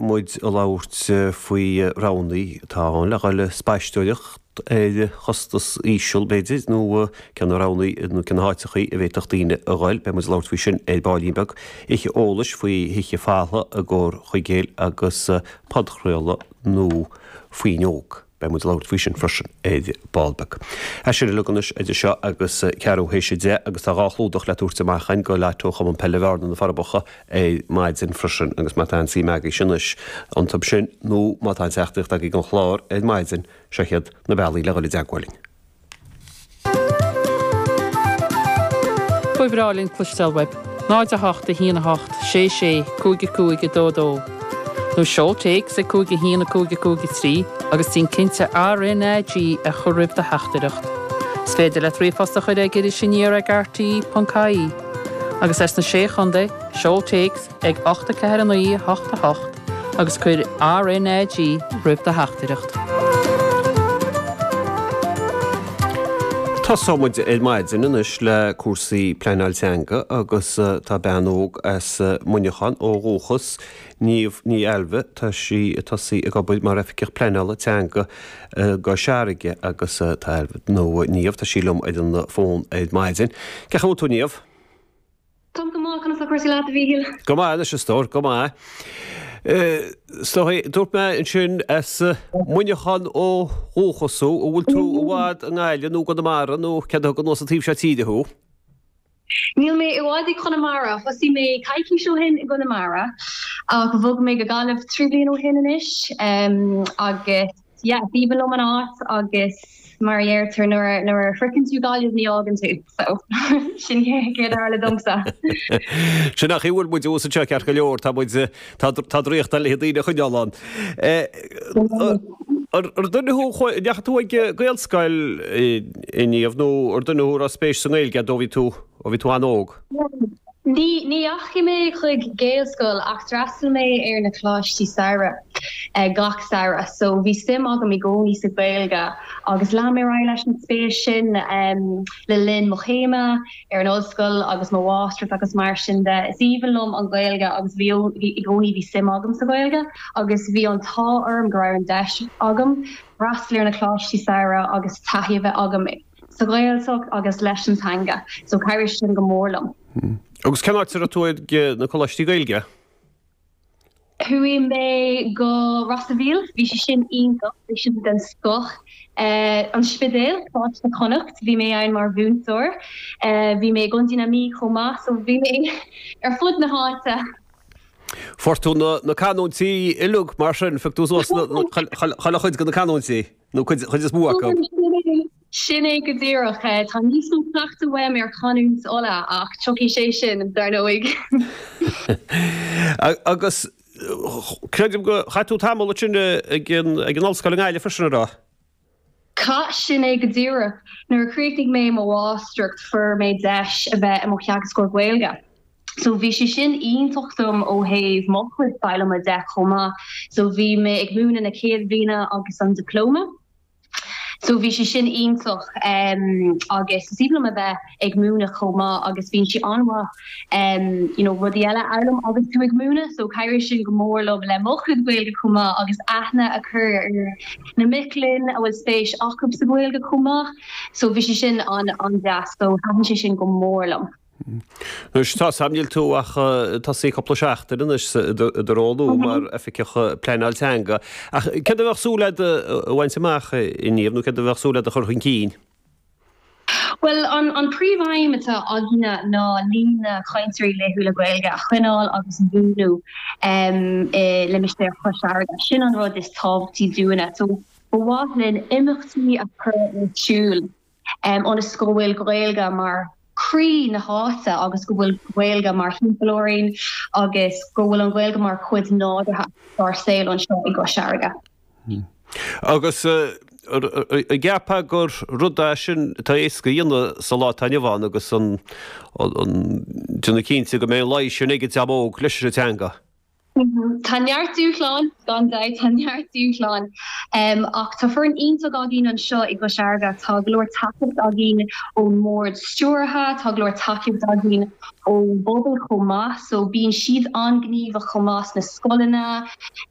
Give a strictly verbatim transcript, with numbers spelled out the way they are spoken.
muid ag labhairt faoi roghanna atá ann le dhul ag spaisteoireacht ar chostas íseal, b'fhéidir, nó cé na roghanna nó cé na háiteachaí a bhféadfadh daoine a dhul. Beidh muid ag labhairt faoi sin ar baillín beag. Oíche eolais faoi thithe faltha i gComhar Chuigéil agus podchraoladh nua Fuinneog. Beidh muid ag labhairt faoi sin freisin ar ball beag. É sin uilig anois idir seo agus ceathrú théis a deich agus tá dhá chlúdach le tabhairt amach againn go Lotto Chumann Peile Bhearna na Forbacha ar maidin freisin agus má tá aon suim agaibhse anois iontu sin nó má tá aon teachtaireacht agaibh don chlár ar maidin, seo iad na bealaí le dhul i dteagmháil linn. Ba bhreá linn cloisteáil uaibh. náid a hocht a haon a hocht sé sé cúig a cúig a dó dó. Nó seol téacs ag cúig a haon a cúig a cúig a trí agus déan cinnte RnaG a chur roimh do theachtaireacht. Is féidir leat ríomhphost a chur ag Iris Aniar ag rte ponc ie. Agus as na Sé Chontae, seol téacs ag ocht a ceathair a naoi a hocht a hocht agus cuir RnaG roimh do theachtaireacht. Tosóidh muid ar maidin anois le cúrsaí pleanáil teanga agus tá bean óg as Muineachán ó dhúchas, Niamh Ní Ailbhe, tá sí ag tosaí ag obair mar Oifigeach Pleanála Teanga i gCois Fharraige agus tá Ailbhe, nó Niamh, tá sí liom ar an bhfón ar maidin. Cén chaoi a bhfuil tú Niamh? Táim go maith, conas tá cúrsaí leat a Mhíchíl? Go maith anois a stór, go maith. Is dóigh, dúirt mé ansin as Muineachán ó dhúchas thú, an bhfuil tú i bhfad i nGaillimh nó i gConamara nó céard a thug anuas an taobh seo tíre thú? Níl mé i bhfad i gConamara, thosaigh mé coicís ó shin i gConamara ach bhog mé go Gaillimh trí bliana ó shin anois agus yeah, is aoibhinn liom an áit agus mar a deirtear nuair nuair a shroicheann tú Gaillimh ní fhágann tú so sin céard a tharla domsa. Sin an chaoi a bhfuil muid thuas anseo ceart go leor, tá muid tá tá draíocht le daoine a choinneáil ann. Ar duine thú a ndeachaigh tú ag Gaelscoil a Niamh nó ar duine thú a raibh spéis sa nGaeilge ó bhí tú ó bhí tú an-óg? Ní dheachaigh mé chuig Gaelscoil ach d'fhreastail mé ar na coláistí samhraidh gach samhradh so bhí suim agam i gcónaí sa Ghaeilge agus lean mé ar aghaidh leis an spéis sin le linn mo chéime ar an ollscoil agus mo mháistreacht agus mar sin de. Is aoibhinn liom an Ghaeilge agus bhí i gcónaí bhí suim agam sa Ghaeilge agus bhí an t-ádh orm go raibh an deis agam freastal ar na coláistí samhraidh agus taithí a bheith agam sa Ghaeltacht agus leis an teanga so chabhraigh sin go mór liom. Agus cén áit a raibh tú ag na coláistí Gaeilge? Chuaigh mé go Ros a' Mhíl, bhí sé sin iontach, bhí sin den scoth. An Spidéal, Coláiste Chonnacht, bhí mé ann mar mhúinteoir. Bhí mé i gContae na Mí chomh maith, so bhí mé ar fud na háite. Fuair tú na canúintí uilig mar sin, phioc tú suas chuile chuid de na canúintí, nó cuid is mó acu. Sin é go díreach. Tá níos mó cleachtadh uaim ar chanúint Uladh ach tiocfaidh sé sin, dar ndóigh. Agus creidim gur chaith tú tamall ansin ag an ollscoil i nGaillimh freisin, an raibh? Chaith, sin é go díreach. Nuair a chríochnaigh mé mo mháistreacht fuair mé deis a bheith i mo theagascóir Gaeilge. So bhí sé sin iontach dom ó thaobh mo chuid foghlama de chomh maith. So bhí mé ag múineadh na céad bhliana agus an dioplóma. So bhí sé sin iontach agus is aoibhinn liom a bheith ag múineadh chomh maith agus bíonn sé an-mhaith you know rudaí eile a fhoghlaim agus tú ag múineadh so chabhraigh sin go mór liom le mo chuid Gaeilge chomh maith agus aithne a chur ar na mic léinn a bhfuil spéis acu sa Ghaeilge chomh maith so bhí sé sin an-deas so thaitin sé sin go mór liom. Anois tá 's a'm níl tú ach tosaithe cúpla seachtain anois i do ról nua mar Oifigeach Pleanáil Teanga. Ach céard a bheadh súil agat a bhaint amach a Niamh nó céard a bheadh súil agat a chur chun cinn? Bhuel, an príomhaidhm atá againne ná líon na cainteoirí laethúla Gaeilge a choinneáil agus a bhuanú i limistéar Chois Fharraige. Sin an rud is tábhachtaí dúinne. So ba mhaith linn imeachtaí a chur ar siúl ionas go bhfuil Gaeilge mar chroí na háite agus go bhfuil Gaeilge mar thimpeall orainn agus go bhfuil an Ghaeilge mar chuid nádúrtha dár saol anseo i gCois Fharraige. Agus an gceapfá gur rud é sin atá éasca a dhéanamh sa lá atá inniu ann agus an déanamh cinnte go mbeidh an luí sin ag an dream óg leis an teanga? Tá neart dúshlán, gan dabht, tá neart dúshlán. Ach tá foireann iontach againn anseo i gCois Fharraige. Tá go leor tacaíocht againn ón mbord stiúrtha, tá go leor tacaíocht againn ón bpobal chomh maith. So bíonn siad an-ghníomhach chomh maith sna scoileanna,